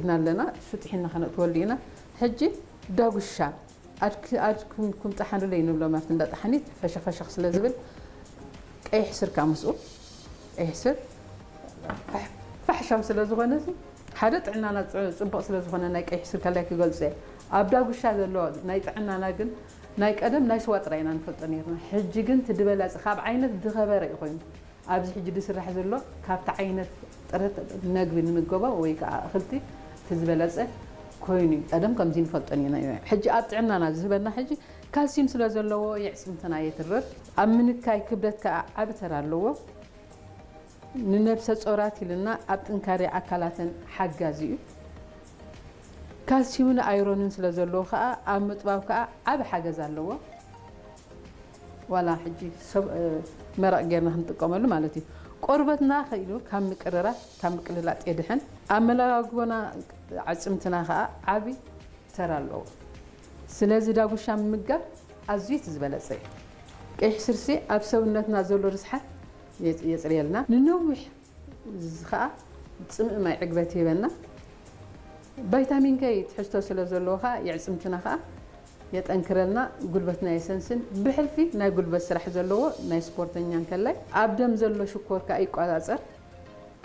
ኢና ኣለና። እሱ ጥሒና ከነእትወሉ ኢና። ሕጂ ዳጉሻ ኣድክ-፣ ኣድኩም ኩም ጠሓንለይ ንብሎ ማለት እንዳ ጠሓኒት ፈሸኽ ፈሸኽ ስለ ዝብል ቀይሕ ስርካ ምስኡ፣ ቀይሕ ስር ፋሕ-፣ ፋሕሻው ስለ ዝኾነ እዚ ሓደ ጥዕናና ጽ-፣ ጽቡቕ ስለ ዝኾነ ናይ ቀይሕ ስር ከላይ ክገልጾ እየ። ኣብ ዳጉሻ ዘሎ ናይ ጥዕናና ግን ናይ ቀደም ናይ ስዋ ጥራይ ኢና ንፈልጦ ነይርና። ሕጂ ግን እቲ ዝበለጸ ካብ ዓይነት ዝኸበረ እዩ ኮይኑ። ኣብዚ ሕጂ ዝስራሕ ዘሎ ካብቲ ዓይነት ጥረት መግቢ ንምገቦ ወይ ከዓ ኣኽልቲ እቲ ዝበለጸ ኮይኑ እዩ። ቀደም ከምዚ ንፈልጦ ነይርና እዩ። ሕጂ ኣብ ጥዕናና ዝህበና ሕጂ ካልሲዩም ስለ ዘለዎ የዕጽምትና የትርር። ኣብ ምንካይ ክብደት ከዓ ዓቢ ተራ ኣለዎ። ንነብሰ ጾራት ኢልና ኣብ ጥንካሬ ኣካላተን ሓጋዚ እዩ። ካልሲዩምን ኣይሮንን ስለ ዘለዎ ከዓ ኣብ ምጥባብ ከዓ ዓቢ ሓገዝ ኣለዎ። ዋላ ሕጂ ሰብ፣ እ፣ መረቕ ጌርና ክንጥቀመሉ ማለት እዩ። ቆርበትና ከኢሉ ካብ ምቅርራፍ፣ ካብ ምቅልላጥ የድሕን። ኣመጋግቦና፣ ኣዕጽምትና ከዓ ዓቢ ተራ ኣለዎ። ስለዚ ዳጉሻ ምምጋብ ኣዝዩ እቲ ዝበለጸ እዩ። ቀይሕ ስርሲ ኣብ ሰውነትና ዘሎ ርስሓት የጽ-፣ የጽርየልና። ንነዊሕ እዚ ኸኣ ጽምኢ ማይ ዕግበት ይህበና። ቫይታሚን ከ ትሕዝቶ ስለ ዘለዎ ኸኣ የዕጽምትና ኸኣ የጠንክረልና፣ ጉልበትና የሰንስን። ብሕልፊ ናይ ጉልበት ስራሕ ዘለዎ ናይ ስፖርተኛ እንከላይ ኣብ ደም ዘሎ ሽኮር ከኣ ይቆጻጸር፣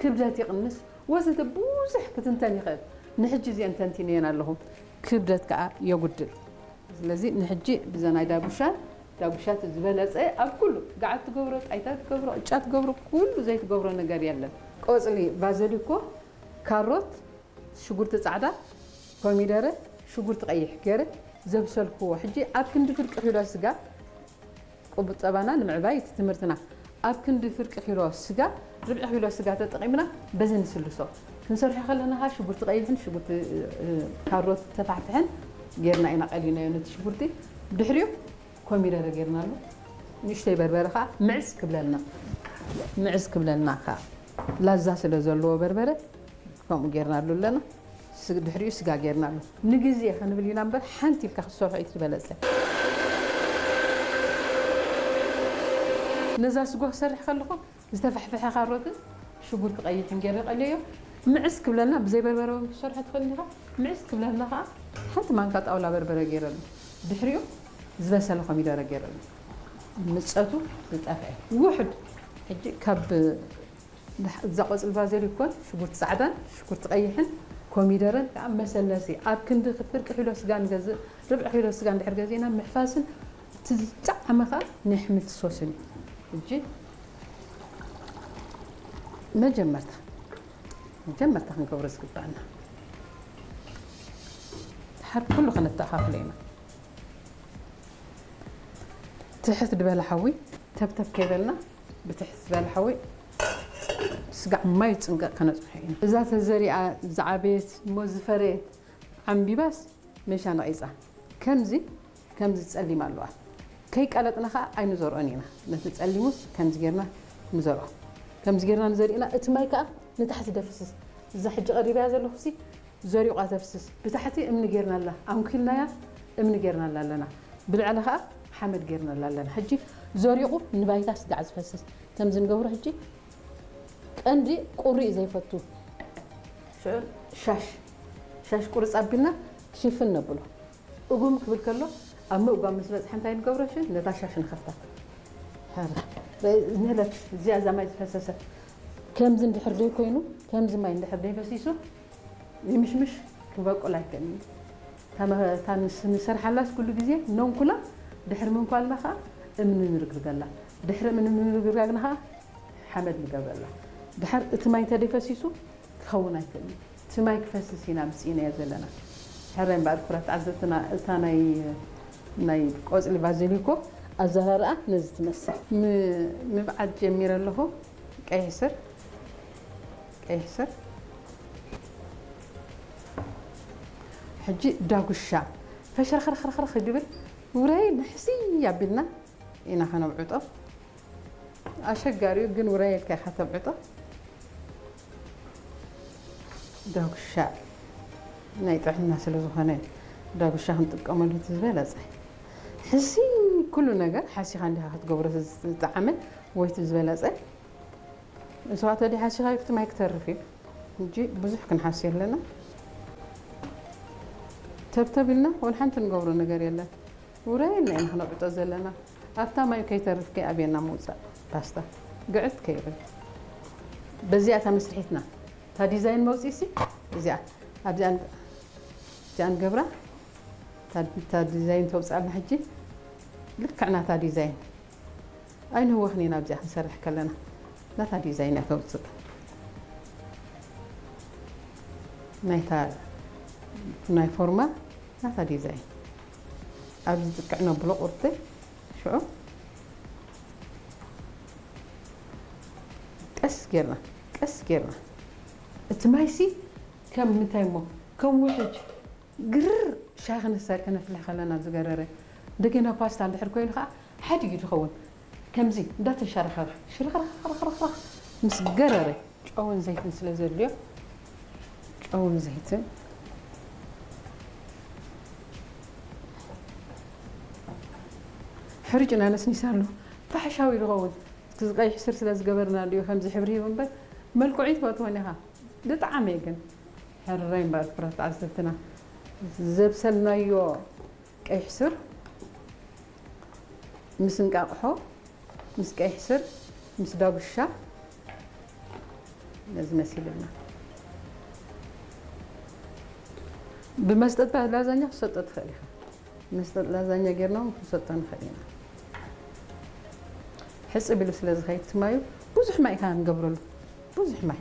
ክብደት ይቕንስ፣ ወዘተ ብዙሕ ክትንተን ይኽእል። ንሕጂ እዚአን ተንቲነየን ኣለኹ። ክብደት ከኣ የጉድል። ስለዚ ንሕጂ ብዘ ናይ ዳጉሻ፣ ዳጉሻ እቲ ዝበለጸ ኣብ ኩሉ፣ ገዓት ትገብሮ፣ ጣይታ ትገብሮ፣ ቅጫ ትገብሮ፣ ኩሉ ዘይትገብሮ ነገር የለን። ቆጽሊ ባዘሊኮ፣ ካሮት፣ ሽጉርቲ ጻዕዳ፣ ኮሚደረ፣ ሽጉርቲ ቀይሕ ገይረ ዘብሰልክዎ። ሕጂ ኣብ ክንዲ ፍርቂ ኪሎ ስጋ፣ ቁጠባና ንምዕባይ እቲ ትምህርትና፣ ኣብ ክንዲ ፍርቂ ኪሎ ስጋ፣ ርብዒ ኪሎ ስጋ ተጠቒምና በዚ ንስልሶ። ክንሰርሖ ከለና ኸኣ ሽጉርቲ ቀይሕን ሽጉርቲ፣ እ፣ ካሮት ተፋሕፍሐን ጌርና ኢና ቀሊናዮ ነቲ ሽጉርቲ። ድሕሪኡ ኮሚደረ ጌርናሉ። ንእሽተይ በርበረ ኸኣ ምዕስ ክብለልና፣ ምዕስ ክብለልና ኸኣ ላዛ ስለ ዘለዎ በርበረ ከምኡ ጌርናሉ ኣለና። ስ-፣ ድሕሪኡ ስጋ ጌርናሉ። ንግዜ ክንብል ኢና እምበር ሓንቲ ኢልካ ክትሰርሖ እዩ እቲ ዝበለጸ። ነዛ ስጎ ክሰርሕ ከለኹ ዝተፋሕፈሐ ካሮትን ሽጉርቲ ቀይሕን ገይረ ቀልዮ። ምዕስ ክብለልና ብዘይ በርበረ እውን ክትሰርሖ ትኽእል ኢኻ። ምዕስ ክብለልና ኸዓ ሓንቲ ማንካ ጣውላ በርበረ ገይረሉ። ድሕሪኡ ዝበሰለ ኮሚደረ ገይረሉ። ምጸቱ ዝጠፍአ ውሑድ። ሕጂ ካብ እዛ ቆጽሊ ባዘሊኮን ሽጉርቲ ጻዕዳን ሽጉርቲ ቀይሕን ኮሚደረን ከዓ መሰለሲ ኣብ ክንዲ ፍርቂ ኪሎ ስጋ ንገዝእ፣ ርብዒ ኪሎ ስጋ እንድሕር ገዚእና ምሕፋስን እቲ ዝጠዓመ ከዓ ናይ ኣሕምልቲ ሶስን እዩ። ሕጂ መጀመርታ፣ መጀመርታ ክንገብሮ ዝግባአና ድሓር ኩሉ ከነተኣኻኽሎ ኢና። ትሕት ዝበለ ሓዊ ተብተብ ከይበልና ብትሕት ዝበለ ሓዊ ስጋዕ ማይ ጽንቀቕ ከነጽንሖ ኢና። እዛ ተዘሪኣ ዝዓበየት እሞ ዝፈረየት ዓምቢባስ መሻ ነቒጻ። ከምዚ፣ ከምዚ ጸሊም ኣለዋ። ከይቀለጥና ኸኣ ኣይንዘርኦን ኢና። ነቲ ጸሊሙስ ከምዚ ጌርና ንዘርኦ። ከምዚ ጌርና ንዘሪእና እቲ ማይ ከኣ ንታሕቲ ደፍስስ። እዛ ሕጂ ቀሪበያ ዘለኹሲ ዘሪቋ ተፍስስ። ብታሕቲ እምኒ ጌርናላ፣ ኣንኪልናያ እምኒ ጌርናላ ኣለና። ብልዕሊ ኸኣ ሓመድ ጌርናላ ኣለና። ሕጂ ዘሪቑ ንባይታ ስጋዕ ዝፈስስ። ከምዚ ንገብሮ ሕጂ ቀንዲ ቁሪ እዩ ዘይፈቱ። ሽዑ ሻሽ፣ ሻሽ ቁርጽ ኣቢልና ሽፍን ነብሎ። እጉም ክብል ከሎ ኣብ ምእጓም ምስ በጽሐ እንታይ ንገብሮ? ሽዑ ነታ ሻሽ ንኸፍታ። ሐረ፣ ነለት እዚኣ እዛ ማይ ዝፈሰሰ ከምዚ እንድሕር ደይ ኮይኑ፣ ከምዚ ማይ እንድሕር ደይ ፈሲሱ፣ ይምሽምሽ ክበቁል ኣይክእልን እዩ። እታ መ-፣ እታ ንስ-፣ ንሰርሓላስ ኩሉ ግዜ ነንኩላ፣ ድሕሪ ምንኳልና ኸኣ እምኒ ንርግርገላ። ድሕሪ እምኒ ምንርግርጋግና ኸኣ ሓመድ ንገብረላ። ድሓር እቲ ማይ እንተ ደይፈሲሱ ክኸውን ኣይክእልን እዩ። እቲ ማይ ክፈስስ ኢና ምጽኢናዮ ዘለና። ሕራይ እምበኣር ክቡራት ተዓዘብትና፣ እታ ናይ፣ ናይ ቆጽሊ ባዘሊኮ ኣዘራርኣ ነዚ ትመስል። ም-፣ ምብዓት ጀሚረ ኣለኹ። ቀይሕ ስር፣ ቀይሕ ስር። ሕጂ ዳጉሻ ፈሸርኽርኽርኽርኽ ይብል። ውራይ ንሕሲ ኣቢልና ኢና ከነብዕጦ። ኣሸጋሪኡ ግን ውራይ ኢልካ ኢኻ ተብዕጦ። ዳጉሻ ናይ ጥዕና ስለ ዝኾነ ዳጉሻ ክንጥቀመሉ እቲ ዝበለጸ። ሕሲ ኩሉ ነገር ሓሲኻ እንዲኻ ክትገብሮ ዝጠዓመ ወይ እቲ ዝበለጸ። ንስኻ ተዲ ሓሲኻ ይፍቲ ማይ ክተርፍ እዩ። ሕጂ ብዙሕ ክንሓሲ ኣለና። ተብተብ ኢልና ወላ ሓንቲ ንገብሮ ነገር የለን። ውራይ ኢልና ኢና ክነውዕጦ ዘለና። ኣብታ ማይ ከይተርፍ ከይኣብየና ምውፃእ ፓስታ ግዕት ከይብል። በዚኣ እታ መስርሒትና እታ ዲዛይን መውፅኢሲ እዚኣ ኣብዚኣ ን- እዚኣ ንገብራ። እታ እታ ዲዛይን ተውፅኣልና ሕጂ ልክዕ ናታ ዲዛይን ኣይንህወኽን ኢና ኣብዚኣ ክንሰርሕ ከለና ናታ ዲዛይን እያ ተውፅእ። ናይታ ናይ ፎርማ ናታ ዲዛይን ኣብዚ ዝጥቅዕ ነብሎ ቁርቲ ሽዑ ቀስ ጌርና ቀስ ጌርና እቲ ማይሲ ከም ምንታይ እሞ ከም ውሕጅ ግርር ሻሂ ክነሳሪ ከነፍልሕ ከለና ዝገረረ እንደገና ፓስታ እንድሕር ኮይኑ ከዓ ሓዲግ እዩ ዝኸውን ከምዚ እንዳተንሸራኸረ ሽርኽርኽርኽርኽ ምስ ገረረ ጨውን ዘይትን ስለ ዘድልዮ ጨውን ዘይትን ሕርጭ እናነስኒሳሉ ፋሕሻዊ ዝኸውን እቲ ቀይሕ ስር ስለ ዝገበርና ድዩ ከምዚ ሕብሪ ሂቡ እምበር መልክዑ ይትፈትወን ኢኻ ብጣዕሚ ግን ሕረይ እምበር ክብረት ተዓዘብትና ዘብሰልናዮ ቀይሕ ስር ምስ እንቃቕሖ ምስ ቀይሕ ስር ምስ ዳጉሻ ነዚ መሲልና ብመስጠት ላዛኛ ክሰጦ ትኽእል ኢኻ መስጠት ላዛኛ ጌርና እውን ክንሰጦ ንኽእል ኢና ሕፅብ ኢሉ ስለ ዝኸይድ ትማዩ ብዙሕ ማይ ኢኻ ንገብረሉ ብዙሕ ማይ